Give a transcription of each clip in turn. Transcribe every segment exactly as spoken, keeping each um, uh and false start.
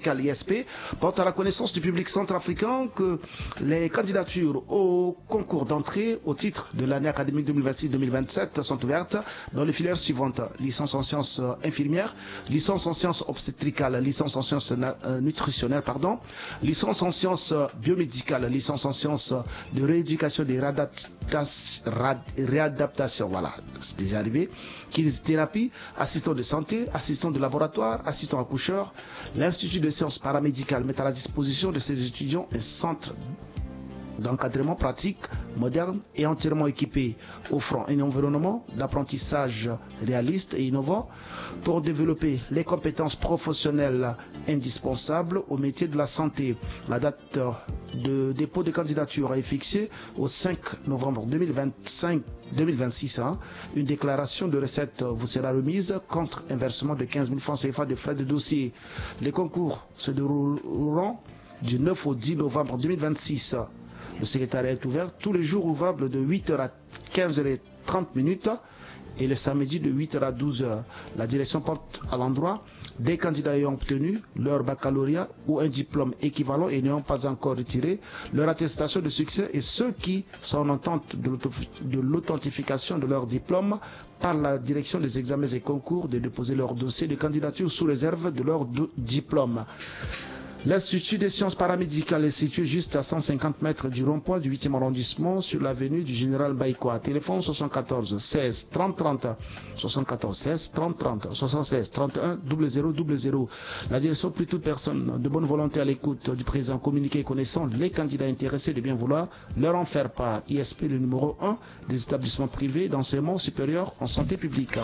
médicale I S P porte à la connaissance du public centrafricain que les candidatures au concours d'entrée au titre de l'année académique deux mille vingt-six deux mille vingt-sept sont ouvertes dans les filières suivantes : licence en sciences, euh, infirmières, licence en sciences obstétricales, licence en sciences na-, euh, nutritionnelles, pardon, licence en sciences, euh, biomédicales, licence en sciences, euh, de rééducation et de réadapta-, rad-, réadaptation, voilà, c'est déjà arrivé, kinésithérapie, assistant de santé, assistant de laboratoire, assistant accoucheur. L'Institut de sciences paramédicales met à la disposition de ses étudiants un centre d'encadrement pratique, moderne et entièrement équipé, offrant un environnement d'apprentissage réaliste et innovant pour développer les compétences professionnelles indispensables au métier de la santé. La date de dépôt de candidature est fixée au cinq novembre deux mille vingt-cinq, deux mille vingt-six, hein. Une déclaration de recettes vous sera remise contre un versement de quinze mille francs C F A de frais de dossier. Les concours se dérouleront du neuf au dix novembre deux mille vingt-six. Le secrétariat est ouvert tous les jours ouvrables de huit heures à quinze heures et trente minutes et le samedi de huit heures à douze heures. La direction porte à l'endroit des candidats ayant obtenu leur baccalauréat ou un diplôme équivalent et n'ayant pas encore retiré leur attestation de succès et ceux qui sont en attente de l'auto-, de l'authentification de leur diplôme par la direction des examens et concours de déposer leur dossier de candidature sous réserve de leur do-, diplôme. L'Institut des sciences paramédicales est situé juste à cent cinquante mètres du rond-point du huitième arrondissement, sur l'avenue du Général Baïkoa. Téléphone soixante-quatorze seize trente trente, soixante-quatorze seize trente trente, soixante-seize trente et un double zéro double zéro. La direction prie toute personne de bonne volonté à l'écoute du présent communiqué connaissant les candidats intéressés de bien vouloir leur en faire part. I S P, le numéro un des établissements privés d'enseignement supérieur en santé publique.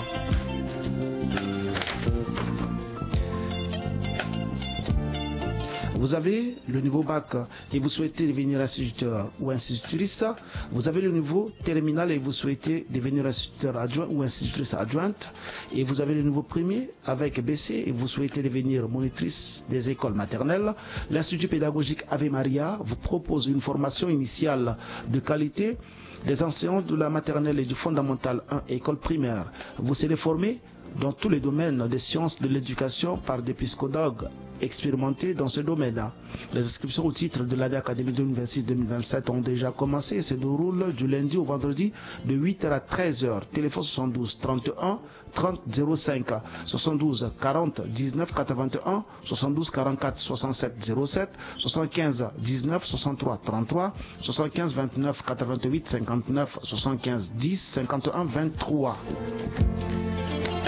Vous avez le niveau bac et vous souhaitez devenir instituteur ou institutrice. Vous avez le niveau terminal et vous souhaitez devenir instituteur adjoint ou institutrice adjointe. Et vous avez le niveau premier avec B C et vous souhaitez devenir monitrice des écoles maternelles. L'Institut pédagogique Ave Maria vous propose une formation initiale de qualité des enseignants de la maternelle et du fondamental un, école primaire. Vous serez formé dans tous les domaines des sciences de l'éducation par des psychologues expérimentés dans ce domaine. Les inscriptions au titre de l'année académique deux mille vingt-six deux mille vingt-sept ont déjà commencé et se déroulent du lundi au vendredi de huit heures à treize heures. Téléphone soixante-douze trente et un trente zéro cinq, soixante-douze quarante dix-neuf quatre-vingt-un, soixante-douze quarante-quatre soixante-sept zéro sept, soixante-quinze dix-neuf soixante-trois trente-trois, soixante-quinze vingt-neuf quatre-vingt-huit cinquante-neuf, soixante-quinze dix cinquante et un vingt-trois.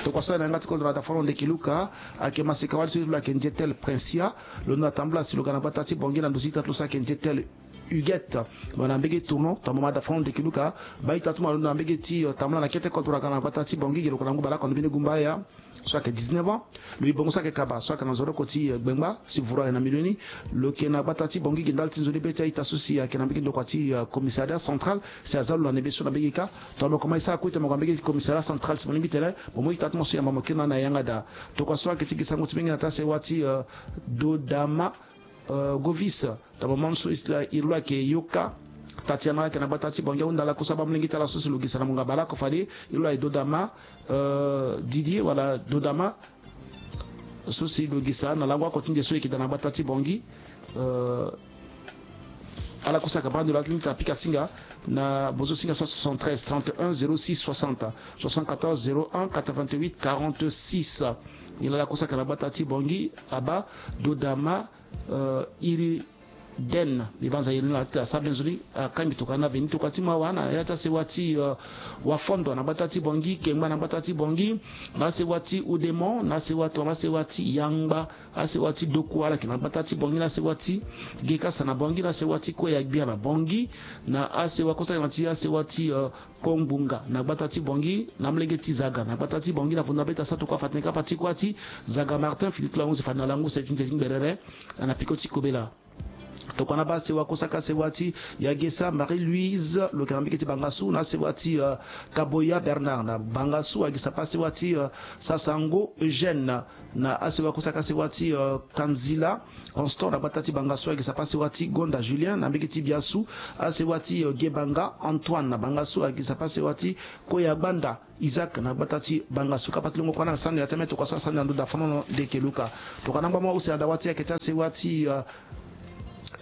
Tokua so ayeke na yanga ti kodro na dafa lo ndeki Luka, ayeke maseka wali so e ti lo ayeke nzetel Princia. Lo na tambula si lo ga na gbata ti Bangui na ndo ti ita ti lo so ayeke nzetel Huguette. Lo na mbege tournon, tongana mo ma dafa lo ndeki Luka, baa ita ti mo alondo na mbege ti, eh, tambula na kete kodro aga na gbata ti Bangui ge lo yeke na ngu bale oko na mbeni gumba ya. So ayeke dix-neuf ans. Lo yi bongo so ayeke kaba so ayeke na nzoroko ti, eh, gbengba si vuru aye na milioni. Lo yeke na gbata ti Bangui ge ndali ti nzoni be ti a-ita so si ayeke na mbege ndokua ti, eh, commissariat central si aza lo na nebeso na mbege kâ. Tongana mo koma e sara kue tene mo ga mbege ti commissariat central si mo lingbi tene mo mu ita ti mo so yamba mo kiri na ni na yanga daa. Tokua so ayeke ti gi sango ti mbenge na taa sewa ti, eh, Dodama, eh, Govis. Tongana mo ma so iri lo ayeke Yoka Tatiana ayeke na gbata ti Bangui, ahunda lakue so abaa molenge ti ala so si lo gisa na mo nga bale oko fade. Iri lo aye Dodama, eh, Didier wala Dodama so si lo gisa na lango oko ti nde so e yeke daa na gbata ti Bangui. Eh, ala kue so ayeke baa ndo lo, ala ti lingbi tene apika singa na bozo singa so soixante-treize trente et un zéro six soixante, soixante-quatorze zéro un quatre-vingt-huit quarante-six. Nilala kue so ayeke na gbata ti Bangui abaa Dodama, eh, iri den mbi banza iri ni na ti asara benzoni, akangbi tokua na veni tokua ti mo awa na ya ti asewa ti, eh, Wafondo na gbata ti Bangui, Kengba na gbata ti Bangui, na asewa ti Oudémont, na asewa ti, na asewa ti Yangba, asewa ti Dokua ala yeke na gbata ti Bangui, na asewa ti Gekasa na Bangui, na asewa ti Koué Agbia na Bangui, na asewa kue so ayeke na ti asewa ti, eh, Kongbunga na gbata ti Bangui, na amolenge ti Zaga na gbata ti Bangui, na vundu na be ti asara tokua fa tene kapa ti kuâ ti Zaga Martin Philippe Langu si fa na langu se ti nze ti ngberere, ana peko ti kobela. Tokua na baa sewa kosaka sewa ti Yagesa Marie-Louise, lo yeke na mbege ti Bangassou, na sewa ti, euh, Kaboya Bernard na Bangassou, ayeke sapa sewa ti, euh, Sasango Eugène, na asewa kosaka sewa ti, euh, Kanzila Constant na gbata ti Bangassou, ayeke sapa sewa ti Gonda Julien na mbege ti Biassou, asewa ti, euh, Gebanga Antoine na Bangassou, ayeke sapa sewa ti Koya Gbanda Isaac na gbata ti Bangassou. Kapa ti longo kua na sani ya ti ameto kua so asani na ndo da fanono ndeke luka. Tokua na ngba mo use na dawa ti ayeke ti asewa ti, euh,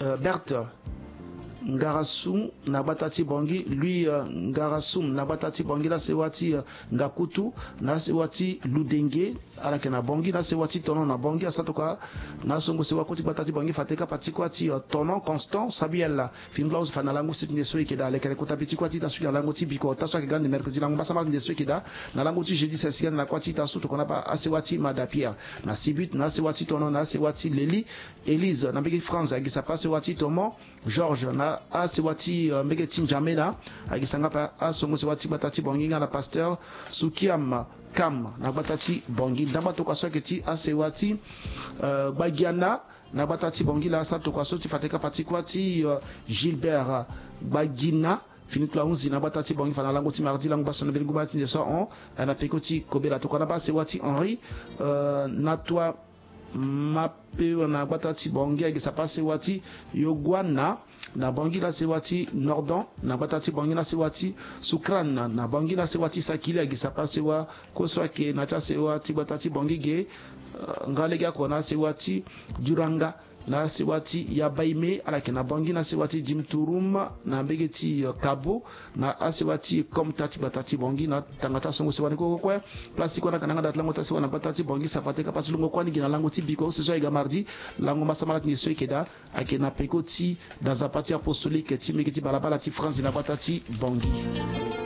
euh, Berthe Ngarasum na gbata ti Bongi, Louis, euh, Ngarasum na gbata ti Bongi, na sewa ti, euh, Ngakutu, na sewa ti Ludenge, ala yeke na Bongi, na sewa ti Tonon na Bongi, asara tokua na songo sewa kue ti gbata ti Bongi, fade kapa ti kua ti, euh, Tonon Constant Samuel. Fini bula use fa na lango siti nde so eke daa lekere kota bi ti kua ti ita so eke na lango ti biko, ota so ayeke ga nde mercredi lango mbasambala ti nde so eke daa, na lango ti jeudi sesi na kua ti ita so tokua na baa asewa ti Mada Pierre na Sibut, na asewa ti Tonon, na asewa ti Leli Elise na mbege ti France, ayeke sapa asewa ti Tonon Georges na asewa ti, euh, mbege ti N'Djamena, ayeke sanga pa asongo sewa ti gbata ti Bongi nga na pasteur Sukiam Kam na gbata ti Bongi. Ndamba tokua so ayeke ti asewa ti, euh, Gbagiana na gbata ti Bongi laa, asara tokua so ti fade kapa ti kua ti, euh, Gilbert Gbagina. Fini ti lo ahunzi na gbata ti Bongi fa na lango ti mardi lango baa so na mbeni ngu baa ti nde so ahon, eh, na peko ti kobela. Tokua na baa sewa ti Henri, euh, Natua Mapeo na gbata ti Bongi, ayeke sapa sewa ti Yoguana na Bongi, na sewa ti Nordon na gbata ti Bongi, na sewa ti Sukran na Bongi, na sewa ti Sakili, ayeke sapa sewa kue so ayeke na ti asewa ti gbata ti Bongi ge, euh, nga lege oko na sewa ti Duranga, na sewa ti Yabaime, ala yeke na Bongi, na sewa ti Dimturum na mbege ti, euh, Kabo, na asewa ti Komta ti gbata ti Bongi, na tanga ti asongo sewa ni kue kue kue. Place ti kue na kananga da ti lango ti asewa na gbata ti Bongi, sapa ti kapa ti longo kue ni gi na lango ti biko use so ayeke ga mardi lango mbasambala ti nde so eke daa, ayeke na peko ti da nzapa ti apostolique ti mbege ti balabala ti France na gbata ti Bongi.